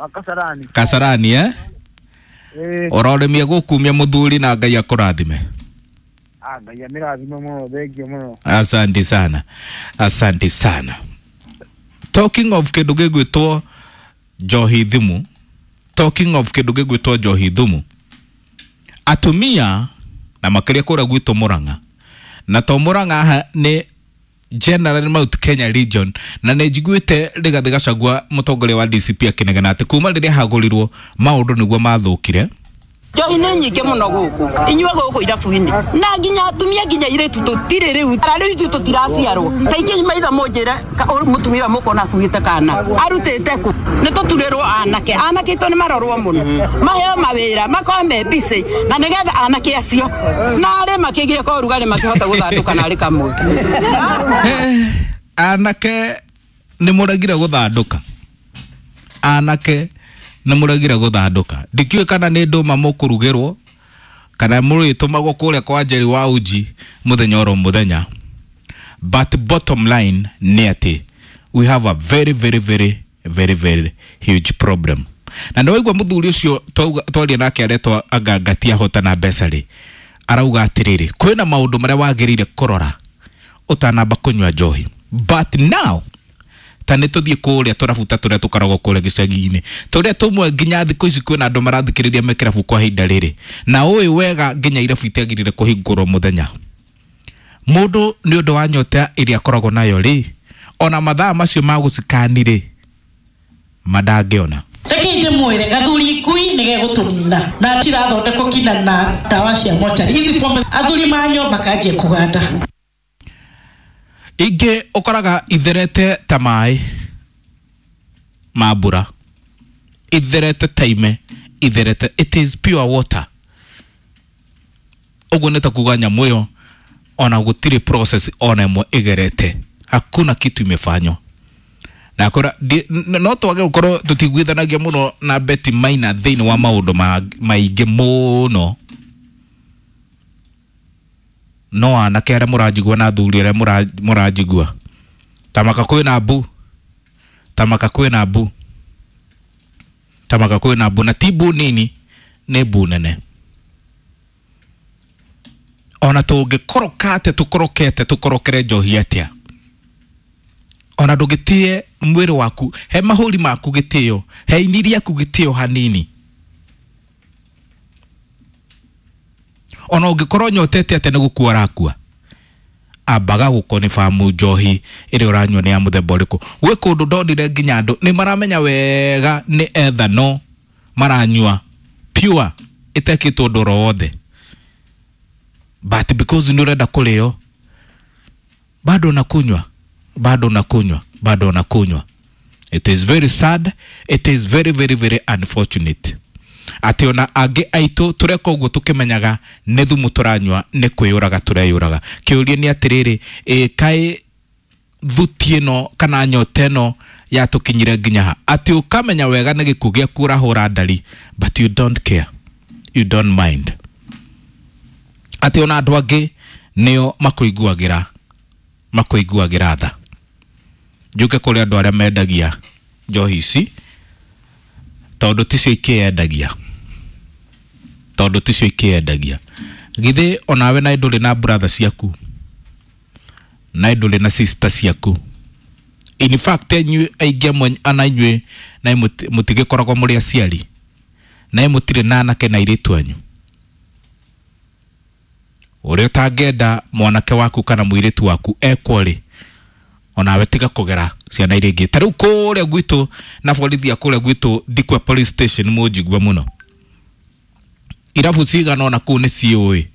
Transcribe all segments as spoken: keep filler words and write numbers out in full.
Wa Kasarani. Kasarani eh? Ĩĩ. Ũrorĩmie gũkumia mũthuri na Ngai akũrathime. Ah, Ngai amĩrathime mũno, thengiũ mũno. Asante sana, asante sana. Talking of kĩndũ gĩgwĩtwo njohi thumu, talking of kĩndũ gĩgwĩtwo njohi thumu, atumia na makĩria kũrĩa gwitũ Murang'a, na to Murang'a haha nĩ General Mount Kenya region, na nĩ njiguĩte Rigathĩ Gachagua mũtongoria wa D C P akĩnegena atĩ kuma rĩrĩa hagũrirwo maũndũ nĩguo mathũkire. Njohi nĩ nyingĩ mũno gũkũ inyuĩ gũkũ irabu-inĩ, na nginya atumia nginya irĩtu tũtirĩ rĩu ara rĩu ithuĩ tũtiraciarwo ta ingĩ maitho mũnjĩre ka- ũyũ mũtumia ũyũ mũkona akuĩte kana arutĩte kũ. Nĩ tũturĩrwo anake, anake itũ nĩ marorwo mũno, maheo mawĩra, makorwo me busy na nĩgetha anake acio narĩ makĩgĩe ka ũrugarĩ makĩhota gũthandũka narĩ kamwe. Eh, anake nĩ mũregire gũthandũka, anake nĩ mũregire gũthandũka. Ndikĩũĩ kana nĩ ndũma mũkũrugĩrwo kana mũrĩtũmagwo kũrĩa kwa Njeri wa uji mũthenya oro mũthenya, but bottom line nĩ atĩ we have a very very very very very huge problem. Na nĩ waigua mũthuri ũcio twauga- twaria nake aretwo angangati ahota na mbeca rĩ, arauga atĩrĩrĩ, kwĩna maũndũ marĩa wagĩrĩire kũrora ũtanamba kũnyua njohi. But now ta nĩ tũthiĩ kũrĩa tũrabuta tũrĩa tũkoragwo kũrĩa gĩcagi-inĩ, tũrĩa tũmwe nginya thikũ ici kwĩna andũ marathikĩrĩria me kĩrabu kwa ihinda rĩrĩ, na ũĩ wega nginya irabu itiagĩrĩire kũhingũrwo mũthenya. Mũndũ nĩ ũndũ wa nyota ĩrĩa akoragwo nayo rĩ, ona mathaa macio ma gũcikani rĩ, mandangĩona. Reke ndĩmwĩre, gathuri ikui nĩ gegũtũnina na cirathondekwo kinya na ndawa cia mocarĩ ici pombe, athuri manyua makanjia kũganda. Ingĩ ũkoraga itherete ta maĩ ma mbura, itherete ta ime, itherete, it is pure water. Ũguo nĩ ta kuga nyamũ ĩyo ona gũtirĩ process ona ĩmwe ĩgerete, hakuna kitu imefanywa. Na kora no twage gũkorwo tũtiguithanagia mũno na Betty Maina thĩinĩ wa maũndũ ma- maingĩ mũno, no anake arĩa mũranjigua na athuri arĩa mũra- mũranjigua, tamaka kwĩna mbu, tamaka kwĩna mbu, tamaka kwĩna mbu, na ti mbu nini, nĩ mbu nene. Ona tũngĩkoroka atĩa, tũkorokete tũkorokere njohi atĩa, ona ndũgĩtĩe mwĩrĩ waku, he mahũri maku gĩtĩo, he ini rĩaku gĩtĩo hanini. Ona ũngĩkorwo nyotete atĩa, nĩ gũkua ũrakua, ambaga gũkonibamu njohi ĩrĩa ũranyua nĩ ya mũthemba ũrĩkũ. Gwĩ kũndũ ndonire nginya andũ nĩ maramenya wega nĩ ethanol maranyua pure ĩtekĩtwo ũndũ oro wothe, but because nĩ ũrenda kũrĩo, bado unakunywa, bado unakunywa, bado unakunywa. It is very sad, it is very very very unfortunate atĩ ona angĩ aitũ tũreka ũguo tũkĩmenyaga nĩ thumu tũranyua, nĩ kwĩyũraga tũreyũraga. Kĩũria nĩ atĩrĩrĩ, ĩ kaĩ thuti ĩno kana nyota ĩno yatũkinyire nginya ha, atĩ ũkamenya wega nĩ gĩkuũ gĩaku ũrahũra ndari, but you don't care, you don't mind atĩ ona andũ angĩ nĩo makũiguagĩra makũiguagĩra tha? Njũke kũrĩ andũ arĩa mendagia njohi ici, tondũ ticio ikĩendagia, tondũ ticio ikĩendagia. Githĩ onawe naĩ ndũrĩ na brother ciaku, naĩ ndũrĩ na sister ciaku? In fact, inyuĩ aingĩ amwe ana inyuĩ naĩ mũtigĩkoragwo mũrĩ aciari, naĩ mũtirĩ na anake na airĩtu anyu? Ũrĩa ũtangĩenda mwanake waku kana mũirĩtu waku ekwo rĩ, onawe tiga kũgera ciana iria ingĩ. Ta rĩu kũrĩa gwitũ na borithi a kũrĩa gwitũ Ndikwa police station mũnjigue mũno, irabu cigana ona kũu nĩ ciũĩ,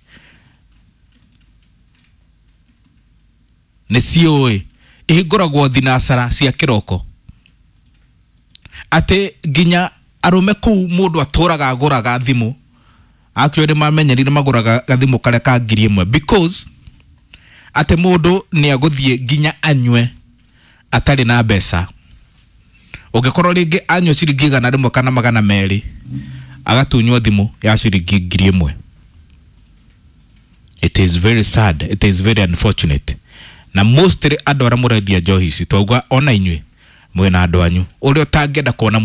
nĩ ciũĩ ihingũragwo thinacara cia kĩroko, atĩ nginya arũme kũu mũndũ atũraga agũraga thimũ. Actually mamenyerire magũraga gathimũ karĩa ka ngiri ĩmwe, because atĩ mũndũ nĩ agũthiĩ nginya anyue atarĩ na mbeca. Ũngĩkorwo rĩngĩ anyua ciringi igana rĩmwe kana magana merĩ, agatunywo thimũ ya ciringi ngiri ĩmwe. It is very sad, it is very unfortunate. Na mostly andũ arĩa mũrendia njohi ici, twauga ona inyuĩ mwĩna andũ anyu ũrĩa ũtangĩenda kuona mũndũ.